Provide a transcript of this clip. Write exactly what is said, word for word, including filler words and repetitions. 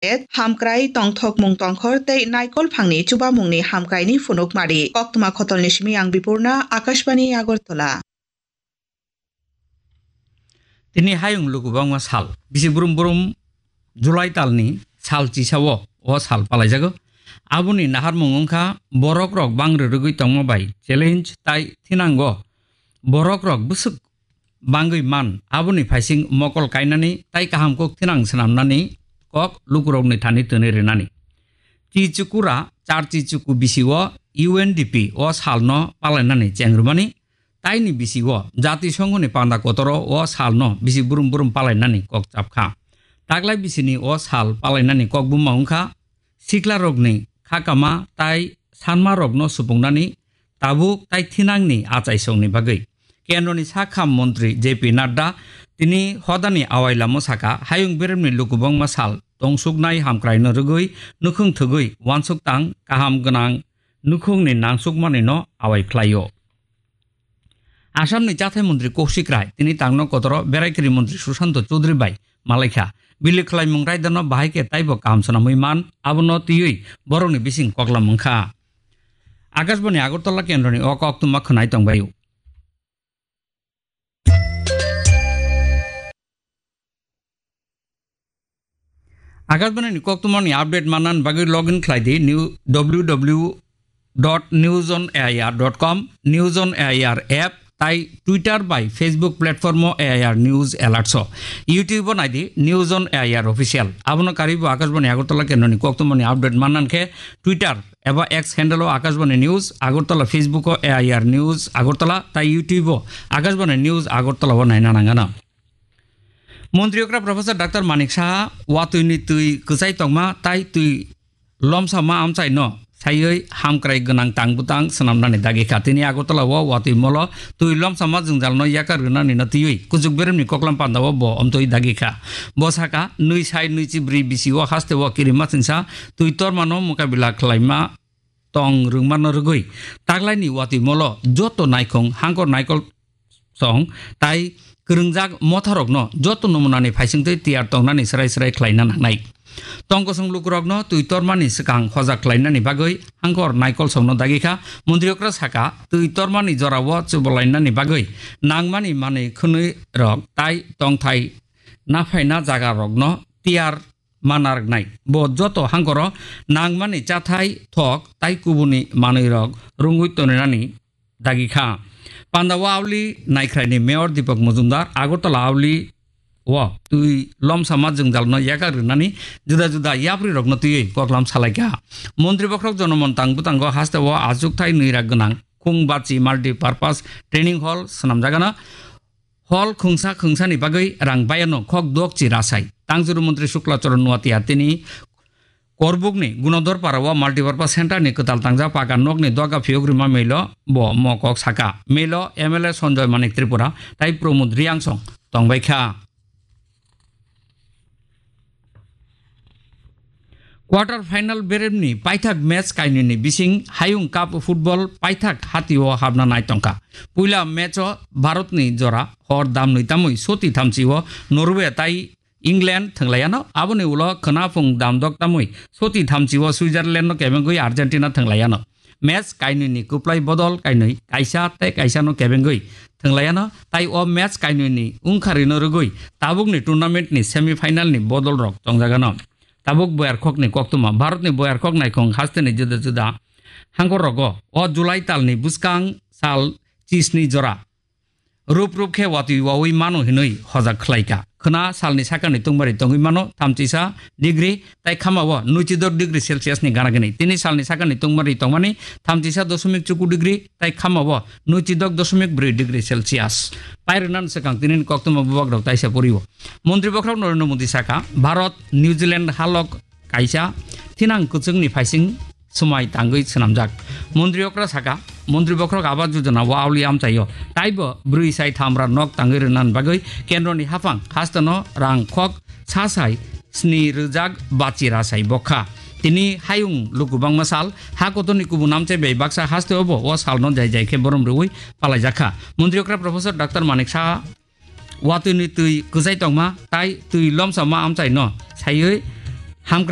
Hamkrai, tongthokmung tongkhor tei naikol phangni chubamungni hamkraini phunukmari. Koktwma khotolni simi ang Bipurna, Akashbani Agartala. Tini hayung lukubangma sal, bisi brum brum July talni sal chisao o sal palaijago. Aboni naharmung wngkha borok rok bang rwrwgwi tongma bai challenge tai thinango borok rok bwswk bangwi man, aboni phaising mokol kainani tai kaham kok thinang swnamnani kok lukurokni thani twnwi rwnani. Chichukura char chichuku bisio U N D P o salno palainani chengrwmani taini bisio Jati Songhoni panda kotoro o salno bisi brum brum palainani kok chapkha. Taklai bisini o sal palainani kok buma wngkha siklarokni khakama tai sanmarokno supungnani tabuk tai thinangni achaisongni bagwi. Kendroni sak ham montri J P Nadda tini hodani awai lamo saka, hayung beremni lukubangma sal tongsuknai hamkraino rwgwi nukhung thwgwi uansuk tang kaham gwnang nukhungni nangsukmanino awai khlaio. Assamni chathai montri Kaushik Rai tini tangno kotoro berai kiri montri Sushanta Chowdhury bai malaikha. Bili khlaimung raidano bahai khe taibo kaham swnamwi man, abono twiwi borokni bising koklam wngkha. Akashbani Agartala kendroni o koktwma khwnai tongbaio. Akashbani ni koktwmani update manna bagwi login khlai di new W W W dot news on A I R dot com, News on A I R app tai Twitter bai Facebook platform o A I R News Alerts o. YouTube o nai di News on A I R Official. Abono karwi bo Akashbani Agartala kendroni koktwmani update manna khe Twitter eba X handle o Akashbani News Agartala, Facebook o A I R News Agartala tai YouTube o Akashbani News Agartala o naina nangano. Montri okra Professor Doctor Manik Saha watwi ni twi kwchai tongma tai twi lomsama amchai no saiwi hamkrai gwnang tang bwtang swnamnani dagi kha. Tini Agartala o watwi molo twi lomsama jwngjal no yakar rwnani no twiwi kuchuk beremni koklam panda o bo omtwi dagi kha. Bo saka nwi sai nwi chi bwrwi bisi o haste o kirima chingsa twi torma no mukabila khlaima tong rwngmano rwgwi taklaini watwi molo joto naikhung hangkor naikol song tai kwrwngjak motharokno joto nomunani phaisingtwi tiyar tongnani srai srai khlaina nangnai. Tongkosong lukurokno twi tormani swkang hojak khlainani bagwi hangkor naikol songno dagi kha. Montri okra saka twi tormani jorao chubalainani bagwi nangmani manwi khwnwi rok tai tongthai naphaina jaga rokno tiyar manargnai. Bo joto hangkoro nangmani chathai, thok tai kubuni manwirok rwngwi tongnani dagi kha. Panda o Auli Naikhraini Mayor Deepak Majumdar Agartala Auli o twi lomsama jwngjalno yakar rwnani juda juda yaprirokno twiwi koklam salaikha. Montri bokhorok jonomon tang bwtango haste o achukthai nwi rak gwnang Khungbachi Multipurpose Training Hall swnamjagano. Hall khungsa khungsani bagwi rang bayano khok dok chi rasai. Tangjuru montri Shukla Charan Nuatia tini Korbukni Gunodhar Para o Multipurpose Center ni kwtal tangjak pakan nokni doga phiyok rima melo bo mo kok saka. Melo M L A Sanjoy Manik Tripura tai Pramod Reang song tongbai kha. Quarter final beremni paithak match kainwini bising Hayung Cup football paithak hatio habna nai tongkha. Puila match o Bharatni jora hor damnwi tamwi soti thamchi o Norway tai England thwnglaiyano, aboni ulo khwnaphung damdok tamwi soti thamchi o Switzerland no kebengwi Argentina thwnglaiyano. Match kainwi ni kwplai bodol kainwi kaisa tei kaisa no kebengwi thwnglaiyano, tai o match kainwi ni wngkharino rwgwi tabukni tournament ni semi final ni bodol rok tongjagano. Tabuk boyarkhok ni koktwma, Bharat ni boyarkhok naikhung haste ni juda juda hangkor rogo o July tal ni bwskang sal chisni jora rup rup khe watwi wawi mano hinwi hojak khlai kha. Khwna salni sakani tungmari tongwi mano thamchisa degree, tai khamao nwichidok degree Celsius ni gana gini. Tini salni sakani tungmari tongmani thamchisa dosomik chuku degree, tai khamao nwichidok dosomik brwi degree Celsius. Pairwknani swkang tinini koktwma bubagrok taisa porio. Montri bokhorok Narendra Modi saka, Bharat, New Zealand halok kaisa thinang kwchwngni phaising swmai tangwi swnamjak. Montri okra saka, Montri bokhorok Awas Yojana o auli amchaio taibo brwi sai thamra nok tangwi rwna bagwi kendroni haphang hasteno rang khok sa sai sni rwjak bachi ra sai bokha. Tini hayung luku bangma sal, ha kotorni kubun amchai bai baksa hasteo bo o salno jai jai khe borom rwui palaijakha. Montri okra Professor Doctor Manik Saha watwi ni twi kwchai tongma tai twi lomsama amchai no saiwi Hamkrai